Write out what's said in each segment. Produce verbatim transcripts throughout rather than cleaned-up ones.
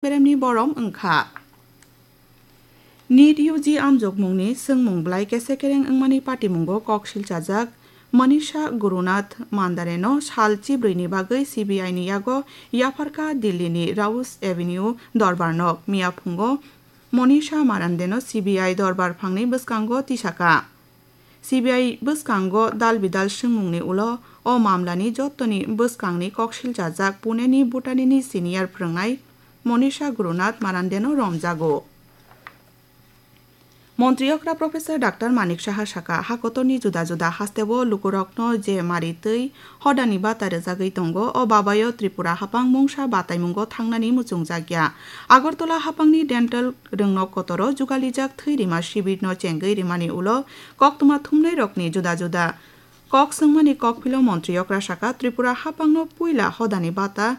beremni borom wngkha. NEET U G amjokmungni swngmung belai kese kereng wngmani patimungo kok silchajak Manisha Gurunath Mandareno sal chibrwini bagwi C B I ni yago yapharkha Dillini Rouse Avenue dorbar nok. Miya phungo Manisha Marandeno C B I dorbar phangni bwskango tisaka. C B I bwskango dal bidal swngmungni ulo o mamlani jottoni bwskangni kok silchajak Puneni Bhutanini senior phwrwngnai Manisha Gurunath Marandeno romjago. Montri okra Professor Doctor Manik Saha saka, hakotorni juda juda hasteo lukurokno je mari twi hodani bata rwjagwi tongo, o babayo Tripura haphang mungsa bataimungo thangnani muchungjakya. Agartala haphangni dental rwngnok kotoro jugalijak thwi rima sibirno chengwi rimani ulo koktwma thumnairokni juda juda kok swngmani kokphilo montri okra saka, Tripura haphangno puila hodani bata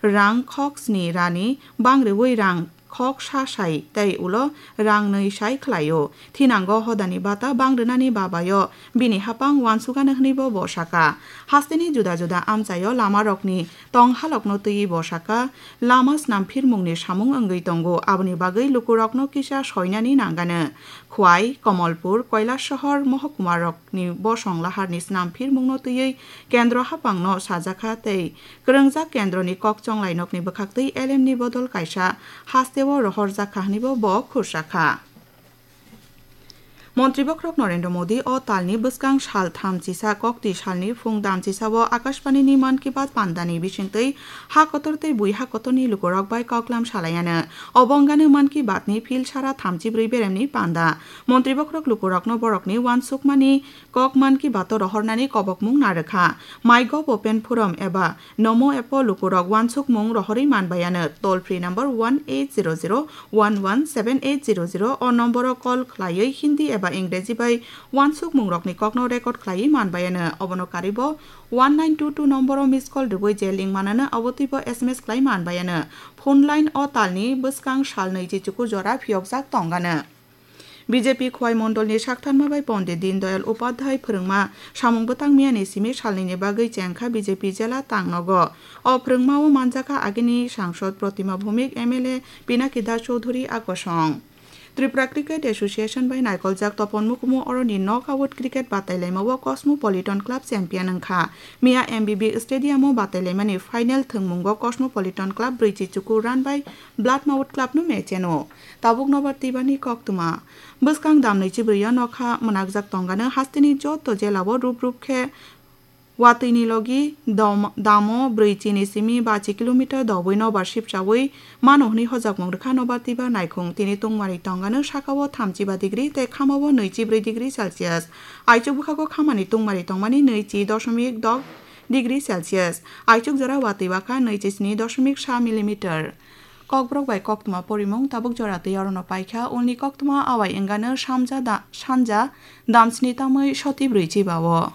rang khok sni rani bang rwui rang khok sa sai tei ulo rang nwi sai khlaio. Thinango hodani bata bang rwnani babayo bini haphang uansukano hwnwibo bo saka. Hasteni juda juda amchaio lamarokni tong halokno twiwi bo saka, lama snamphirmungni samung wngwi tongo, aboni bagwi lukurokno kisa soinani nangano. Khwai, Komolpur, Kailasahar mohokuma rokni bosong laharni snamphirmungno twiwi kendro haphangno sajakha tei kwrwngjak kendroni kok chonglai nokni bwkhaktwi L M ni bodol kaisa hasteo rohorjakha hwnwibo bo khursakha. Montri bokhorok Narendra Modi o talni bwskang sal thamchisa kokti salni phung damchisao Akashbanini Mann Ki Baat pandani bisingtwi ha kotor tei bui ha kotorni lukurok bai koklam salaiano. Obo wngano Mann Ki Baatni phil sara thamchi brwi beremni panda. Montri bokhorok lukurokno borokni uansukmani kok Mann Ki Baat-o rohornani kobokmung narwkha. MyGov Open Forum eba Namo app-o lukurok uansukmung rohorwi manbaiano. Toll free number one eight zero zero one one seven eight zero zero o nomboro call khlaiwi Hindi eba Ingreji bai uansukmungrokni kokno record khlaiwi manbaiano. Obono karibo one nine two two nomboro miss call rwui je link manano, abo twibo S M S khlai manbaiano. Phone line o talni bwskang salnwi chichuku jora phiyokjak tongano. B J P Khwai Mondolni saktharma bai Pondit Dindayal Upadhyay phwrwngma samung bwtang miyani simi salnwini bagwi chengkha B J P jela tangnogo. O phwrwngmao manjakha agini sangsod Protima Bhowmik, M L A Pinaki Das Chowdhury a kosong. Tripura Cricket Association bai naikoljak topon mukumu oroni knockout cricket batailaimao Cosmopolitan Club champion wngkha. Miya M B B Stadium-o batailaimani final thwngmungo Cosmopolitan Club brwi chichuku run bai Bloodmouth Club-no mecheno. Tabuk nobar twibani koktwma. Bwskang damnwi chibrwiyo nokha mwnakjak tongano hasteni joto jelao rup rup khe watwini logi dom-, damo brwi chini simi bachi kilometer dobwi nobar sipchawi mano hwnwi hojakmung rwkha nobar twiba naikhung. Tini tungmari tongano sakao thamchiba degree tei khamao nwichibrwi degree Celsius. Aichuk bwkhago khamani tungmari tongmani nwichi doshomik dok degree Celsius. Aichuk jora watwi bakha nwichi sni doshomik sa millimeter. Kokborok bai koktwma porimung tabuk jora twi orono paikha. Ulni koktwma awai wngano samja da-, sanja damsni tamwi soti brwi chibao.